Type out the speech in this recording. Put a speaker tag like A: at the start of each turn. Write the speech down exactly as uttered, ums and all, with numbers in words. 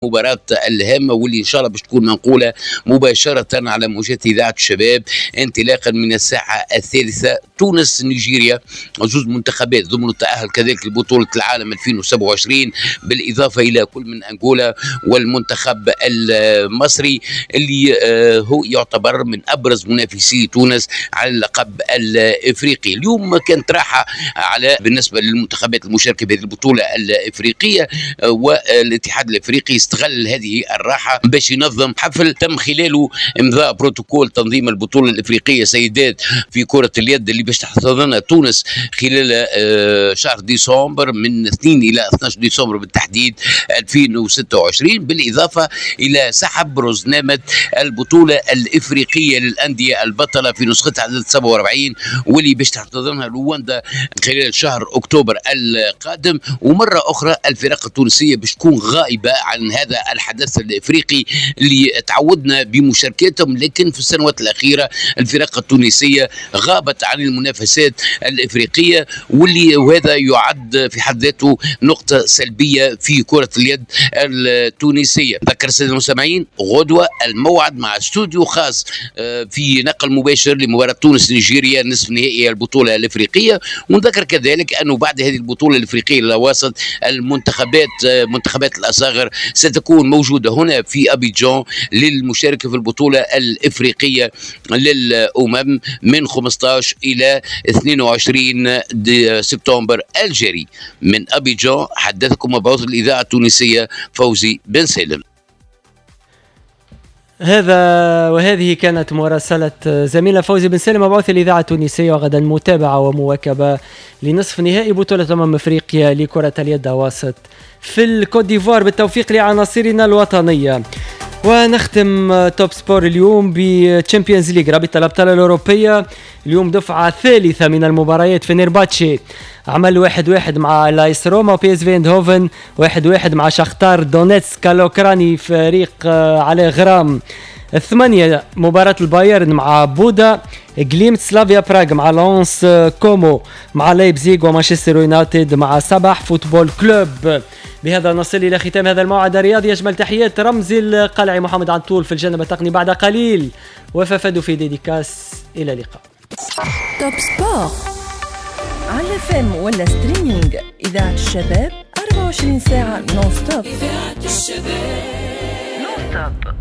A: المباراة الهامة واللي إن شاء الله باش تكون منقولة مباشرة على موجات إذاعة الشباب انطلاقا من الساعة الثالثة. تونس نيجيريا، زوج منتخبات ضمن التأهل كذلك لبطولة العالم ألفين وسبعة وعشرين، بالإضافة إلى كل من أنغولا والمنتخب المصري اللي هو يعتبر من أبرز منافسي تونس على اللقب الإفريقي. اليوم كانت راحة على بالنسبة للمنتخبات المشاركة بهذه البطولة الإفريقية، والاتحاد الإفريقي استغل هذه الراحة باش ينظم حفل تم خلاله إمضاء بروتوكول تنظيم البطولة الإفريقية سيدات في كرة اليد اللي باش تحتضنها تونس خلال شهر ديسمبر من اثنين إلى اثني عشر ديسمبر بالتحديد ألفين وستة وعشرين، بالإضافة إلى سحب رزنامة البطولة الإفريقية للأندية البطلة في نسختها عدد سبعة وأربعين واللي باش تحتضنها رواندا خلال شهر أكتوبر القادم. ومرة أخرى الفرق التونسية باش تكون غائبة عن هذا الحدث الإفريقي اللي تعودنا بمشاركتهم، لكن في السنوات الأخيرة الفرق التونسية غابت عن المنافسات الإفريقية، واللي وهذا يعد في حد ذاته نقطة سلبية في كرة اليد التونسية. ذكر السادة المستمعين غدوة الموعد مع استوديو خاص في نقل مباشر لمباراة تونس نيجيريا نصف نهائي البطولة الإفريقية. ونذكر كذلك أنه بعد هذه البطولة الإفريقية لواسط المنتخبات منتخبات الأصاغر ستكون موجودة هنا في أبيجان للمشاركة في البطولة الإفريقية للأمم من خمسة عشر إلى اثنين وعشرين سبتمبر الجاري. من أبيجان حدثكم مبعوث الإذاعة التونسية فوزي بن سالم.
B: هذا وهذه كانت مراسلة زميلة فوزي بن سالم مبعوث الإذاعة التونسية، وغدا متابعة ومواكبة لنصف نهائي بطولة أمم أفريقيا لكرة اليد واسط في الكوت ديفوار. بالتوفيق لعناصرنا الوطنية. ونختم Top Sport اليوم ب Champions League رابطة الأبطال الأوروبية. اليوم دفعة ثالثة من المباريات. فينيرباتشي عمل واحد واحد مع لايس روما، وبي اس في اندهوفن واحد واحد مع شختار دونيتسك الأوكراني فريق على غرام. الثمانية مباراة البايرن مع بودا جليمت، سلافيا براغ مع لونس، كومو مع لايبزيغ، ومانشستر يونايتد مع صباح فوتبول كلوب. بهذا نصل إلى ختام هذا الموعد الرياضي. أجمل تحيات رمزي القلعي محمد عنطول في الجانب التقني بعد قليل، وفافدو في dédicace. إلى اللقاء.
C: Top Sport على FM ولا streaming، إذاعة الشباب أربعة وعشرين ساعة non-stop. إذاعة الشباب non-stop.